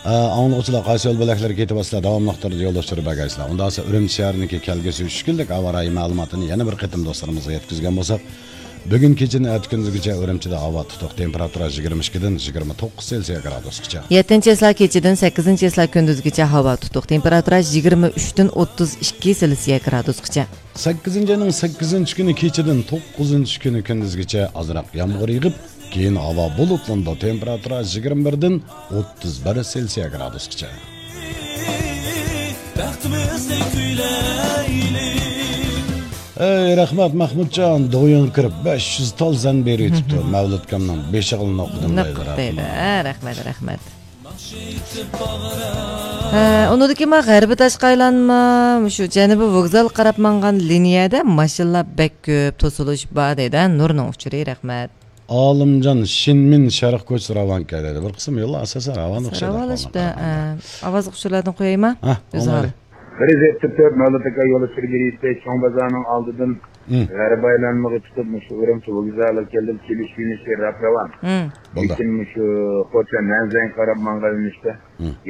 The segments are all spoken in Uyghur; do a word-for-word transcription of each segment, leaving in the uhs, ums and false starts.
ئاڭلىغۇچىلار، قايسى يول بۆلەكلىرىگە كېتىۋاتىسىلەر، داۋاملىق تۈردە يول ئۇچۇرى بەرگەيسىلەر. ئۇنداقسا ئۈرۈمچى شەھىرىنىڭكى كەلگۈسى ئۈچ كۈنلۈك ھاۋا رايى مەلۇماتىنى يەنە بىر قېتىم دوستلىرىمىزغا يەتكۈزگەن بولساق، بۈگۈن كېچىدىن ئەتە كۈندۈزگىچە ئۈرۈمچىدە ھاۋا تۇتۇق، تېمپېراتۇرا يىگىرمە ئىككىدىن يىگىرمە توققۇز سېلسىيە گرادۇسقىچە. يەتتىنچى چىسلا كېچىدىن سەككىزىنچى چىسلا كۈندۈزگىچە ھاۋا تۇتۇق، تېمپېراتۇرا يىگىرمە ئۈچتىن ئوتتۇز ئىككى سېلسىيە گرادۇسقىچە. سەككىزىنچى ئاينىڭ سەككىزىنچى كۈنى كېچىدىن توققۇزىنچى كۈنى كۈندۈزگىچە ئازراق يامغۇر يېغىپ، كېيىن ھاۋا بۇلۇتلىنىدۇ، تېمپېراتۇرا يىگىرمە بىردىن ئوتتۇز بىر سېلسىيە گرادۇسقىچە. بەختىمىزنى كۈيلەيلى. ئەي رەھمەت مەھمۇتجان، دويۇڭ كىرىپ بەش يۈز تال زەن بېرىۋېتىپتۇ. مەۋلۇتكامنىڭ بېشىغا نوقۇدۇم دەيدۇ، دەيدۇ. رەھمەت. ھە، رەھمەت، رەھمەت. ھە، ئۇنىڭدىكى ما غەربىي تاشقا ئايلانما، مۇشۇ جەنۇبىي ۋوگزالغا قاراپ ماڭغان لىنىيەدە ماشىنىلار بەك كۆپ، توسۇلۇش بار دەيدۇ. ھە، نۇرنىڭ ئۇچۇرى، رەھمەت. ئالىمجان، شىنمىن شەرق كوچىسى راۋان كەلدى. بىر قىسىم يوللار ئاساسەن راۋان ئوخشايدۇ، راۋانلىشىپتۇ. ئاۋازلىق ئۇچۇرلاردىن قويايما؟ ھە، ئۆزى ھال. بىر يۈز يەتتە تۆت مەۋلۇت ئاكا يول ئۇچۇرى بېرىشتە چوڭ بازارنىڭ ئالدىدىن غەربىي ئايلانمىغا چىقىپ، مۇشۇ ئۈرۈمچى ۋوگزالىغا كەلدىم، كېلىش يۆنىلىشى راپ راۋان. لېكىن مۇشۇ خوتەن نەنزەنگە قاراپ ماڭغان يۆنىلىشتە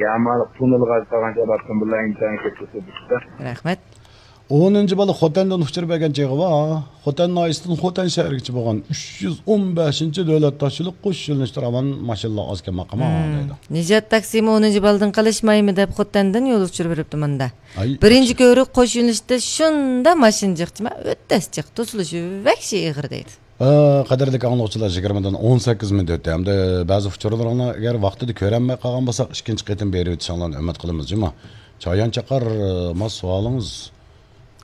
يامالىق توننېلغا قالغانچە ئاپتوموبىللار ئىنتايىن كۆپ توسۇلۇپ كېتىپتۇ. رەھمەت. ئونىنچى بالا خوتەندىن ئۇچۇر بەرگەن چېغى بار. خوتەن ناھىيەسىدىن خوتەن شەھىرىگىچە بولغان ئۈچ يۈز ئون بەشىنچى دۆلەت تاشيولى قوش يۆنىلىشتە راۋان ماشىنىلار ئاز كەم ئاقىما دەيدۇ. نىجات تاكسىمۇ ئونىنچى بالىدىن قېلىشمايمۇ دەپ خوتەندىن يول ئۇچۇر بېرىپتۇ مۇندا. بىرىنچى كۆۋرۈك قوش يۆنىلىشتە شۇنداق ماشىنا جىق، جىما ئۆتەس جىق، توسۇلۇشى ۋەھشىي ئېغىر دەيدۇ. ئە، قەدىرلىك ئاڭلىغۇچىلار، يىگىرمىدىن ئون سەككىز مىنۇت ئۆتتى. ھەمدە بەزى ئۇچۇرلىرىڭلار ئەگەر ۋاقتىدا كۆرەلمەي قالغان بولساق، ئىككىنچى قېتىم بېرىۋېتىشىڭلارنى ئۈمىد قىلىمىز، جۇمۇ. چايان چاقار، ما سوئالىڭىز؟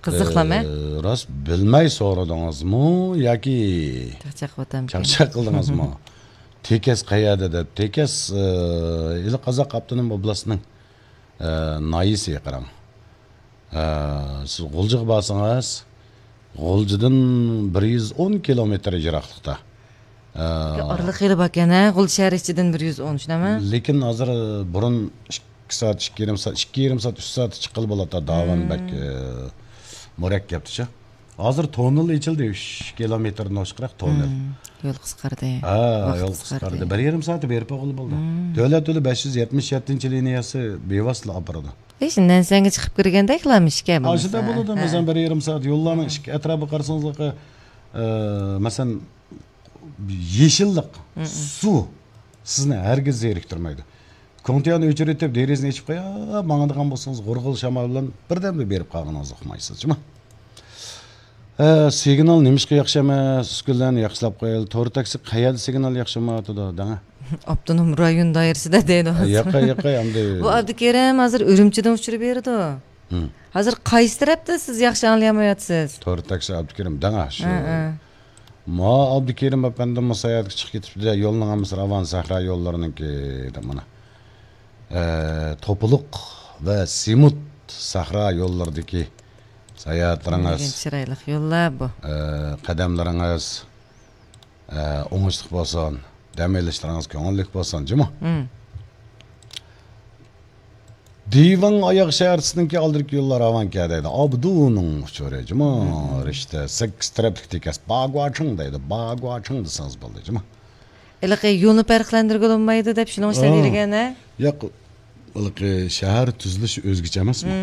قىزىقلام، ئە؟ ئە، راست بىلمەي سورىدىڭىزمۇ ياكى چاقچاق قىلدىڭىزمۇ؟ تېكەس قەيەردە دەپ، تېكەس، ئە، ھېلى قازاق ئاپتونوم ئوبلاستىنىڭ، ئە، ناھىيەسى قاراڭ. ئە، سىز غۇلجىغا بارسىڭىز، غۇلجىدىن بىر يۈز ئون كىلومېتىر يىراقلىقتا. ئە، ئارىلىق خېلى باركەن، ھە؟ غۇلجا شەھەر ئىچىدىن بىر يۈز ئون، شۇنداقمۇ؟ لېكىن ھازىر بۇرۇن ئىككى سائەت، ئىككى يېرىم سائەت، ئىككى يېرىم سائەت، ئۈچ سائەت چىققىلى بولاتتى. داۋان بەك، ئە، مۇرەككەپتىچۇ. ھازىر توننېل ئېچىلدى، ئۈچ كىلومېتىردىن ئوشۇقراق توننېل. يول قىسقاردى. ھە، يول قىسقاردى. بىر يېرىم سائەتتە بېرىپ بولغىلى بولدى. دۆلەت يولى بەش يۈز يەتمىش يەتتىنچى لىنىيەسى بىۋاسىتە ئاپىرىدۇ. ھېچ نەنسەڭگە چىقىپ كىرگەندەكلا ئىكەن بۇ. ئاشۇنداق بولىدۇ، مەسىلەن، بىر يېرىم سائەت يوللارنىڭ ئىككى ئەتراپىغا قارىسىڭىزلىقى، ئە، مەسىلەن، يېشىللىق، سۇ سىزنى ھەرگىز زېرىكتۈرمەيدۇ. كوڭتىيانى ئۆچۈرۈۋېتىپ، دېرىزىنى ئېچىپ قويۇپ ماڭىدىغان بولسىڭىز، غۇرغۇر شامال بىلەن بىردەمدە بېرىپ قالغىنىڭىزنى ئۇقمايسىز، جۇمۇ. ئە، سىگنال نېمىشقا ياخشى ئەمەس؟ ئۈسكۈنىلەرنى ياخشىلاپ قويايلى. تور تاكسى قەيەردە سىگنال ياخشى بولمايۋاتىدۇ، دەڭە. ئاپتونوم رايون دائىرىسىدە دەيدۇ ھازىر. ياقاي، ياقاي، ئەمدى. بۇ ئابدۇكېرىم ھازىر ئۈرۈمچىدىن ئۇچۇر بېرىدۇ. ھازىر قايسى تەرەپتە سىز ياخشى ئاڭلىيالمايۋاتىسىز؟ تور تاكسى ئابدۇكېرىم، دەڭە شۇ. ھە، ھە. ما ئابدۇكېرىم ئەپەندىممۇ ساياھەتكە چىقىپ كېتىپتۇ-دە، يولنىڭ ھەممىسى راۋان سەھرا يوللىرىنىڭكى دەپ مانا. ئە، توپىلىق ۋە سېمونت سەھرا يوللىرىدىكى ساياھەتلىرىڭىز، چىرايلىق يوللار بۇ. ئە، قەدەملىرىڭىز، ئە، ئوڭۇشلۇق بولسۇن، دەم ئېلىشلىرىڭىز كۆڭۈللۈك بولسۇن، جۇمۇ. دىۋاڭ ئاياغ شەھەرچىسىنىڭكى ئالدىدىكى يوللار راۋانكە دەيدۇ. ئابدۇنىڭ ئۇچۇرى، جۇمۇ. رىشتە، سەككىز تەرەپلىك تېكەس. باگۇاچىڭ دەيدۇ. باگۇاچىڭ دېسىڭىز بولدى، جۇمۇ. ھېلىقى يولنى پەرقلەندۈرگىلى بولمايدۇ دەپ شۇنىڭ ئۈچۈن دېگەن، ھە؟ ياق، ھېلىقى شەھەر تۈزۈلۈش ئۆزگىچە ئەمەسمۇ؟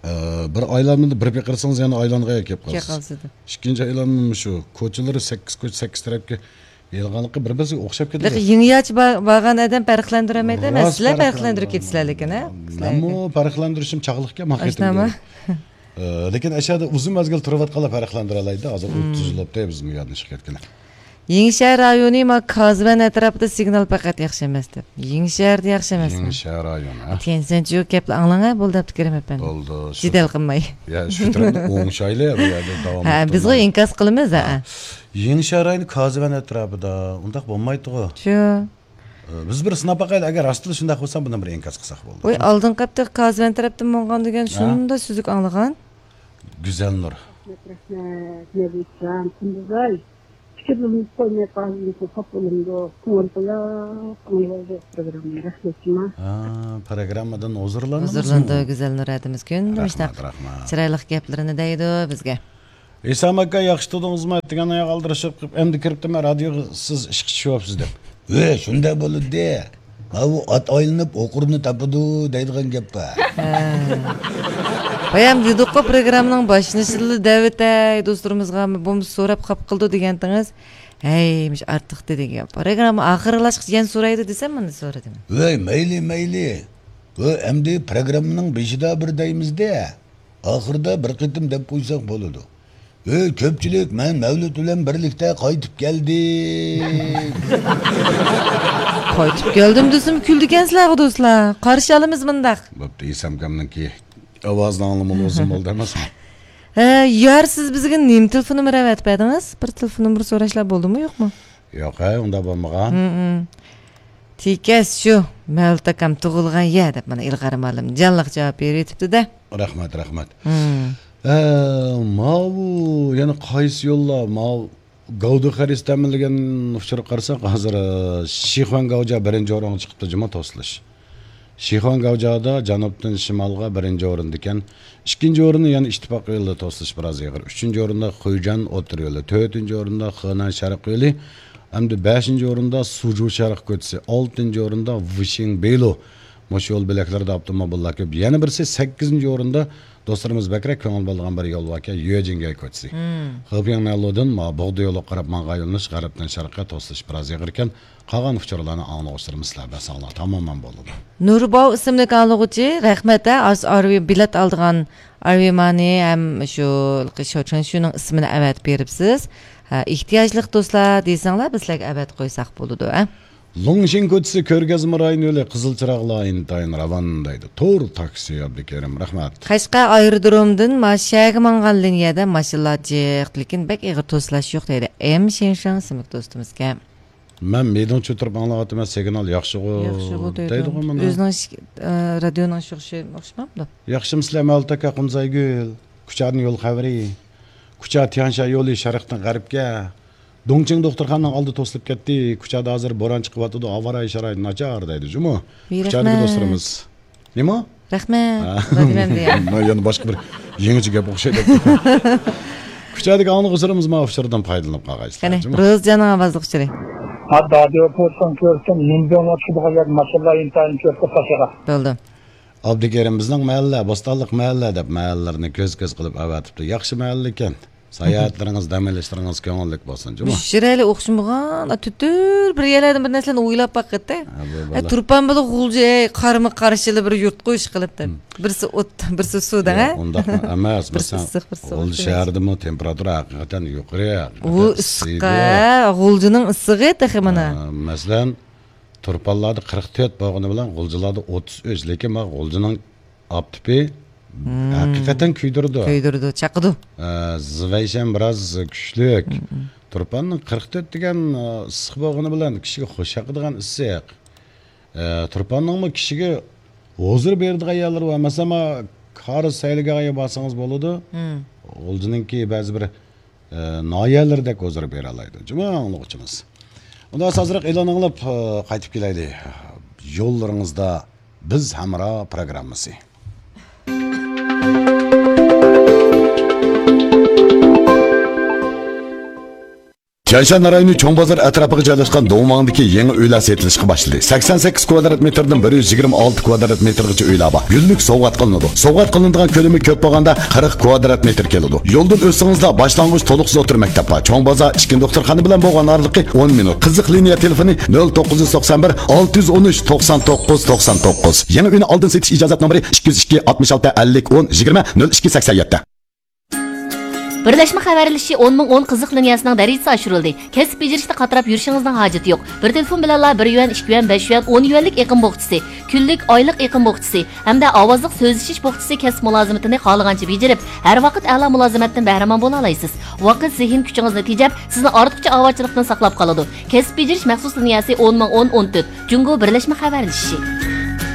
ئە، بىر ئايلانمىدا بىر پېقىرسىڭىز يەنە ئايلانغا كېلىپ قالىسىز. كېلىپ قالىسىز. ئىككىنچى ئايلانما شۇ. كوچىلىرى سەككىز كوچا، سەككىز تەرەپكە يېلىنغانلىقى بىر-بىرسىگە ئوخشاپ كېتىدۇ. لېكىن يېڭىچە با-، بارغان ئادەم پەرقلەندۈرەلمەيدۇ، مەن سىلەر پەرقلەندۈرۈپ كېتىسىلەر لېكىن، ھە؟ مەنمۇ پەرقلەندۈرۈشۈم چاغلىقكەن ۋاقىتىمدا. ئاشۇنداقمۇ؟ ئە، لېكىن ئەشەدە ئۇزۇن مەزگىل تۇرۇۋاتقانلار پەرقلەندۈرەلەيدۇ. ھازىر ئۇ تۈزۈلۈپتۇ، بىز بۇ يەردىن چىقىپ كەتكىلى. يېڭىشەھەر رايونى ما كازۋەن ئەتراپىدا سىگنال پەقەت ياخشى ئەمەس دەپ. يېڭىشەھەردە ياخشى ئەمەسمۇ؟ يېڭىشەھەر رايونى، ھە؟ تيەنشەنچۈ گەپلا ئاڭلاڭ، ھە، بولدى، ئابدۇكېرىم ئەپەندى. بولدى، شۇ. جېدەل قىلماي. يا، شۇ تەرەپنى ئوڭشايلى، بۇ يەردە داۋام ھە، بىزغۇ ئىنكاس قىلىمىز، ھە. يېڭىشەھەر رايونى كازۋەن ئەتراپىدا، ئۇنداق بولمايدىغۇ. شۇ. ئە، بىز بىر سىناپ باقايلى، ئەگەر راستلا شۇنداق بولسا، بۇندىن بىر ئىنكاس قىلساق بولدى. ۋاي، ئالدىنقى ھەپتە كازۋەن تەرەپتىن بولغان دېگەن ھە؟ شۇنداق سۈزۈك ئاڭلىغان. گۈزەلنۇر. رەھمەت، رەھمەت، نەبىجان، قۇندۇزئاي. پىكىرلىرىمىز قويماي قالدى، خاپا بولۇڭلار. كۆڭۈل قويۇپ ئاڭلاۋالدۇق پروگراممىنى. رەھمەت جۇما. ھە، پروگراممادىن ھۇزۇرلاندىڭىزمۇ؟ ھۇزۇرلاندۇق، گۈزەلنۇر ھەدىمىز كۈندە مۇشۇنداق چىرايلىق گەپلىرىنى دەيدۇ، بىزگە. رەھمەت، رەھمەت. ھېسام ئاكا، ياخشى تۇردىڭىزمۇ؟ ئەتىگەن ئاياغ ئالدىرىشىپ قىلىپ، ئەمدى كىرىپتىمەن رادىيوغا، سىز ئىشقا چۈشۈۋاپسىز دەپ. ھە، شۇنداق بولىدۇ. ماۋۇ ئات ئايلىنىپ ئوقۇرنى تاپىدۇ دەيدىغان گەپ بار. ھە. بايام دېدۇققۇ، پروگراممىنىڭ باشلىنىشىدىلا دەۋېتەي دوستلىرىمىزغا، بولمىسا سوراپ خاپا قىلىدۇ دېگەنتىڭىز. ھەي، مۇشۇ ئارتۇق دېدىگەن گەپ. پروگرامما ئاخىرلاشقىچە يەنە سورايدۇ دېسەم، مانا سورىدىم. ۋەي، مەيلى، مەيلى. ۋە ئەمدى پروگراممىنىڭ بېشىدا بىر دەيمىز-دە. ئاخىرىدا بىر قېتىم دەپ قويساق بولىدۇ. ئۆي كۆپچىلىك، مەن مەۋلۇت بىلەن بىرلىكتە قايتىپ كەلدىم. قايتىپ كەلدىم دېسىمۇ كۈلىدىكەنسىلەرغۇ دوستلار. قارشى ئالىمىز مۇنداق. بوپتۇ، ئېسەمكەمنىڭكى ئاۋازىنى ئاڭلىمىغىلى ئۇزۇن بولدى ئەمەسمۇ؟ ھە، يار، سىز بىزگە نېمە تېلېفون نومۇرى ئەۋەتىپ بەردىڭىز؟ بىر تېلېفون نومۇرى سوراشلار بولدىمۇ، يوقمۇ؟ ياق، ھە، ئۇنداق بولمىغان. ھىم، ھىم. تېكەس شۇ، مەۋلۇت ئاكام تۇغۇلغان يەر دەپ مانا ئىلغار مالىم جانلىق جاۋاب بېرىۋېتىپتۇ-دە. رەھمەت، رەھمەت. ھىم. ئە، ماۋۇ يەنە قايسى يوللار؟ ماۋۇ گاۋدۇ خەرىس تەمىنلىگەن ئۇچۇرغا قارىساق، ھازىر، ئە، شىخۇەن گاۋجا بىرىنچى ئورۇنغا چىقىپتۇ، جۇمۇ توسۇلۇش. شىخۇەن گاۋجادا جەنۇبتىن شىمالغا بىرىنچى ئورۇندىكەن. ئىككىنچى ئورۇننى يەنە ئىتتىپاق يولىدا توسۇلۇش بىراز ئېغىر. ئۈچىنچى ئورۇندا خۇيجەن ئوتتۇرا يولى. تۆتىنچى ئورۇندا خېنەن شەرق يولى. ئەمدى بەشىنچى ئورۇندا سۇجۇ شەرق كوچىسى. ئالتىنچى ئورۇندا ۋىشىڭ بېيلۇ. مۇشۇ يول بۆلەكلىرىدە ئاپتوموبىللار كۆپ. يەنە بىرسى سەككىزىنچى ئورۇندا دوستلىرىمىز بەكرەك كۆڭۈل بۆلىدىغان بىر يول باركەن، يۆجىڭگەي كوچىسى. ھىم. خېپياڭنەنلۇدىن ما بوغدا يولىغا قاراپ ماڭغان يۆنىلىش غەربتىن شەرققە توسۇلۇش بىراز ئېغىركەن. قالغان ئۇچۇرلارنى ئاڭلىغۇچىلىرىمىز سىلەر بەرسەڭلار تامامەن بولىدۇ. نۇرباۋ ئىسىملىك ئاڭلىغۇچى، رەھمەت ھە، ئاز ئارۋى بېلەت ئالىدىغان ئارۋىمانى ھەم شۇ شاۋچۈەنشۈنىڭ ئىسمىنى ئەۋەتىپ بېرىپسىز. ھە، ئېھتىياجلىق دوستلار دېسەڭلار، بىز سىلەرگە ئەۋەتىپ قويساق بولىدۇ، ھە. لۇڭشىڭ كوچىسى كۆرگەزمە رايونى يولى، قىزىل چىراغلار ئىنتايىن راۋان دەيدۇ. تور تاكسى ئابدۇكېرىم، رەھمەت. قەشقەر ئايرودرومدىن ما شەھەرگە ماڭغان لىنىيەدە ماشىنىلار جىق، لېكىن بەك ئېغىر توسۇلاش يوق دەيدۇ. ئېم شېنشاڭ ئىسىملىك دوستىمىزكەن. مەن مىدىڭ چۆتۈرۈپ ئاڭلاۋاتىمەن، سىگنال ياخشىغۇ ياخشىغۇ دەيدۇ. دەيدىغۇ مانا. ئۆزىنىڭ ئىش-، ئە، رادىيونىڭ ئىشلىشى ئوخشىمامدۇ؟ ياخشىمۇسىلەر مەۋلۇت ئاكا، قۇمسايگۈل؟ كۇچادىن يول خەۋىرى؟ كۇچا تيەنشان يولى شەرقتىن غەربكە. دۇڭچىڭ دوختۇرخانىنىڭ ئالدى توسۇلۇپ كەتتى. كۇچادا ھازىر بوران چىقىۋاتىدۇ، ئاۋارە شارائىتى ناچار دەيدۇ جۇمۇ. ۋى كۇچادىكى رەھمەت. دوستلىرىمىز. نېمە؟ رەھمەت. ھە. ۋە دېمەمدى يا. مانا يەنە باشقا بىر يېڭىچە گەپ ئوخشايدۇ. كۇچادىكى ئاڭلىغۇچىلىرىمىز مانا ئۇچۇردىن پايدىلىنىپ قالغايسىلەر، قېنى، جۇمۇ. روزجاننىڭ ئاۋازلىق ئۇچۇرى. ھە، دادىيو پوستىڭ كۆرسەم، يىنبيوڭغا چۈشىدىغان يەر ماشىنىلار ئىنتايىن كۆپ، تاشىغا. بولدى. ئابدۇكېرىم، بىزنىڭ مەھەللە، بوستانلىق مەھەللە دەپ مەھەللىلەرنى كۆز-كۆز قىلىپ ئەۋەتىپتۇ. ياخشى مەھەللە ئىكەن. ساياھەتلىرىڭىز، دەم ئېلىشلىرىڭىز كۆڭۈللۈك بولسۇن، جۇمۇ. مۇشۇ شىرەيلى ئوخشىمىغان، تۈتۈر بىر يەرلەردىن بىر نەرسىلەرنى ئويلاپ باققىتتى. ھە، بۇ ئە، بالا. تۇرپان بىلەن غۇلجا، ئەي، قارىمۇ قارشىلا بىر يۇرتقۇ ئىش قىلىپتۇ. مم. بىرسى ئوت، بىرسى سۇ دەڭە. ياق، ئۇنداق ئەمەس. بىرسى مەسىلەن، ئىسسىق، بىرسى سوغۇق غۇلجا دېمەكچى. شەھىرىدىمۇ تېمپېراتۇرا ھەقىقەتەن يۇقىرى. ئۇ ھەقىقەتەن ئىسسىق ئىسسىيدۇ. ھە، غۇلجىنىڭ ئىسسىقى تېخى مانا. ھە، مەسىلەن، تۇرپانلاردا قىرىق تۆت بولغىنى بىلەن غۇلجىلاردا ئوتتۇز ئۈچ، لېكىن مانا غۇلجىنىڭ ئاپتىپى مم. ھەقىقەتەن كۆيدۈرىدۇ. كۆيدۈرىدۇ، چاقىدۇ. ئە، زىۋەيشەن بىراز كۈچلۈك. مم، مم. تۇرپاننىڭ قىرىق تۆت دېگەن، ئە، ئىسسىق بولغىنى بىلەن كىشىگە خۇش چاقىدىغان ئىسسىق. ئە، تۇرپاننىڭمۇ كىشىگە ھۇزۇر بېرىدىغان يەرلىرى بار. مەسىلەن، مانا كارىز سەيلىگاھىغا بارسىڭىز بولىدۇ. مم. غۇلجىنىڭكى بەزى بىر ئە، ناھىيەلىرىدەك ھۇزۇر بېرەلەيدۇ. جۇمۇ ئاڭلىغۇچىمىز. ئۇندا ئازراق ئېلان ئاڭلاپ، ئە، قايتىپ كېلەيلى. يوللىرىڭىزدا بىز ھەمراھ پروگراممىسى. تيەنشان رايونى چوڭ بازار ئەتراپىغا جايلاشقان دوڭماڭدىكى يېڭى ئۆيلەر سېتىلىشقا باشلىدى. سەكسەن سەككىز كۋادرات مېتىردىن بىر يۈز يىگىرمە ئالتە كۋادرات مېتىرغىچە ئۆيلەر بار. گۈللۈك سوۋغات قىلىنىدۇ. سوۋغات قىلىنىدىغان كۆلىمى كۆپ بولغاندا قىرىق كۋادرات مېتىر كېلىدۇ. يولدىن ئۆتسىڭىزلا باشلانغۇچ تولۇقسىز ئوتتۇرا مەكتەپ بار. چوڭ بازار ئىككىنچى دوختۇرخانا بىلەن بولغان ئارىلىقى ئون مىنۇت. قىزىق لىنىيە تېلېفونى نۆل توققۇز يۈز توقسان بىر، ئالتە يۈز ئون ئۈچ، توقسان توققۇز، توقسان توققۇز. يېڭى ئۆينى ئالدىن سېتىش ئىجازەتنامىسى ئىككى يۈز ئىككى، ئاتمىش ئالتە، ئەللىك، ئون، يىگىرمە، نۆل ئىككى، سەكسەن يەتتە. بىرلەشمە خەۋەرلىشىشى ئون مىڭ ئون قىزىق لىنىيەسىنىڭ دەرىجىسى ئاشۇرۇلدى. كەسىپ بېجىرىشتە قاتراپ يۈرۈشىڭىزنىڭ ھاجىتى يوق. بىر تېلېفون بىلەنلا بىر يۈەن، ئىككى يۈەن، بەش يۈەن، ئون يۈەنلىك ئېقىم بوخچىسى، كۈنلۈك، ئايلىق ئېقىم بوخچىسى ھەمدە ئاۋازلىق سۆزلىشىش بوخچىسى كەسىپ مۇلازىمىتىنى خالىغانچە بېجىرىپ، ھەر ۋاقىت ئەلا مۇلازىمەتتىن بەھرىمەن بولالايسىز. ۋاقىت، زېھىن كۈچىڭىزنى تېجەپ، سىزنى ئارتۇقچە ئاۋارىچىلىقتىن ساقلاپ قالىدۇ. كەسىپ بېجىرىش مەخسۇس لىنىيەسى ئون مىڭ ئون ئون تۆت، جۇڭگو بىرلەشمە خەۋەرلىشىشى.